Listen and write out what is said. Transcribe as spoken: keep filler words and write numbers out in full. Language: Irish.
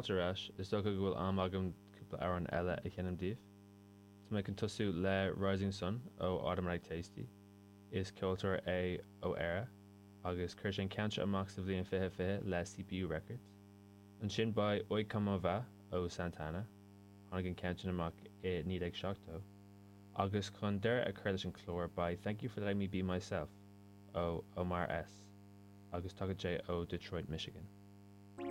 Fáilte ar ais, is dócha go bhfuil am agam cúpla amhrán eile a sheinm daoibh. Tá mé chun tosú le Rising Sun ó Automatic Tasty. Is ceoltóir é ó Éire agus chuir sé an ceann seo amach sa bhliain fiche fiche le CPU Records. Ansin beidh Oye Como Va ó Santana, tháinig an ceann sin amach i naoi déag seachtó. Agus chun deireadh a chur leis an chlár beidh Thank You for Letting Me Be Myself ó Omar S. agus tagann sé ó Detroit, Michigan.